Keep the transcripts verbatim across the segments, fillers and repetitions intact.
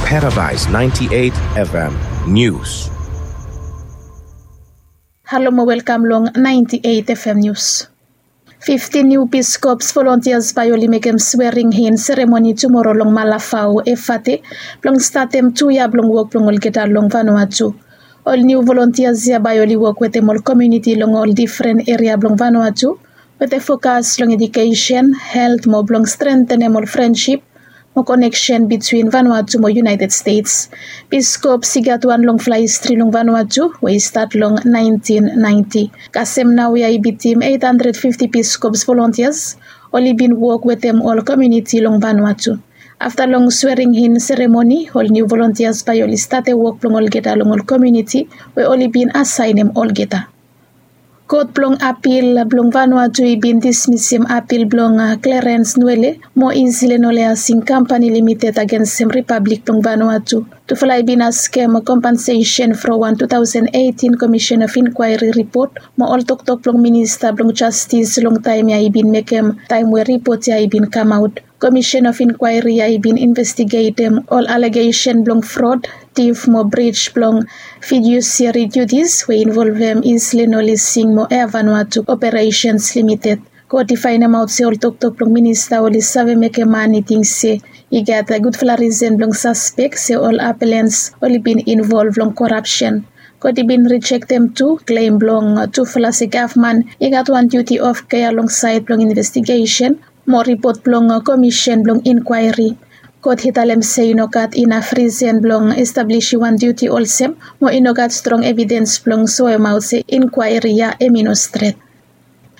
Paradise ninety-eight F M News. Halo mo welkam long ninety-eight F M News. Fiftin niu Peace Corps volontias bae oli mekem swearing in seremoni tumoro long Malafao, Efate, blong statem tu yia blong wok blong olgeta long Vanuatu. Ol niu volontias ya bae oli wok wetem ol komuniti long ol difren eria blong Vanuatu, wetem fokas long edukesen, helt mo blong strentenem ol frensip mo koneksen bitwin Vanuatu mo United States. Peace Corps i gat wan longfala histri long Vanuatu we i stat long naentin naenti. Kasem nao ya i bitim eit handred fifti Peace Corps volontias oli bin wok wetem ol komuniti long Vanuatu. Afta long swearing in seremoni, ol niu volontias bae oli statem wok blong olgeta long ol komuniti we oli bin asaenem olgeta. Kot blong apil blong Vanuatu i bin dismisim apil blong Clarence Nwele mo Insilen Ole Asing Kampani Limited agensem Ripablik blong Vanuatu. Tufala i bin askem kompensesen from wan tu taosen eitin Komisen of Inkwaeri ripot mo ol toktok blong minista blong jastis long taem ya i bin mekem taem we ripot ya i bin kamaot. Komisen of Inkwaeri ya i bin investigetem ol alegesen blong frod, tif mo brij blong fidusiari dutis we involvem Insilen Ole Asing mo Air Vanuatu Operesens Limited. Kot i faenemaot se ol toktok blong minista oli save mekem man i ting se i gat gudfala risen blong saspek se ol apelens oli bin involv long korapsen. Kot i bin rijektem tu klem blong tufala se gavman i gat wan duti of kea long saed blong investigesen mo ripot blong komisen blong inkwaeri. Kot i talem se i no gat inaf risen blong establisim wan duti olsem mo i no gat strong evidens blong soemaot se inkwaeri ya hem i no stret.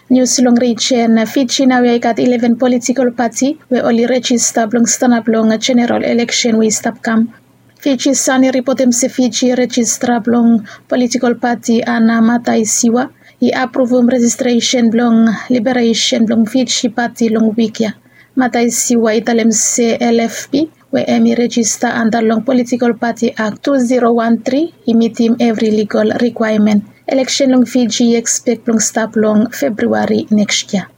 Nius long rijen Fiji, naoia i gat ileven politikol pati we oli rejista blong stanap long jeneral eleksen we i stap kam. Fiji Sun i ripotem se Fiji rejistra blong politikol pati Ana Mataisiwa i apruvum rejistresen blong liberesen blong Fiji pati long wik ya. Mataisiwa i talem se L F P we hem i rejista anda long politikol pati Ak tu zero wan tri i mitim evri ligol rikwaemen. Eleksen long Fiji i ekspek blong stap long Febriwari neks yia.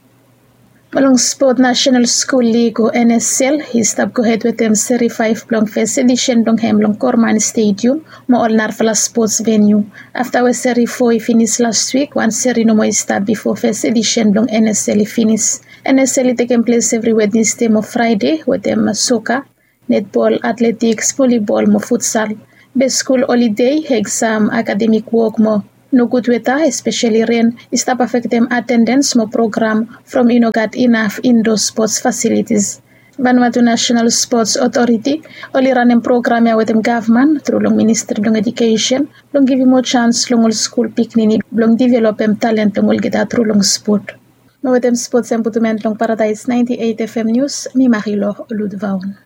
Mo long spot, Nasenal Skul Lig o N S L i stap gohed wetem seri faef blong fes edisen blong hem long Korman Stedium mo ol narafala spots veniu. Afta we seri fo i finis las wik, wan seri nomo i stap bifo fes edisen blong N S L i finis. N S L i tekem ples evri Wednesde mo Fraede wetem soka, netbol, atletiks, volibol mo futsal. Be skul olide, eksam, akademik wok mo nogud weta, espeseli ren, i stap afektem atendens mo program from i no gat inaf indo spots fasilitis. Vanuatu Nasenal Spots Otoriti oli ranem program ya wetem gavman tru long Ministri blong Edukesen blong givim moa jans long ol skul pikinini blong developem talen blong olgeta tru long spot. Mo wetem spots ya mi putum en long Paradise ninety-eight F M News, mi Marilo Ludvaon.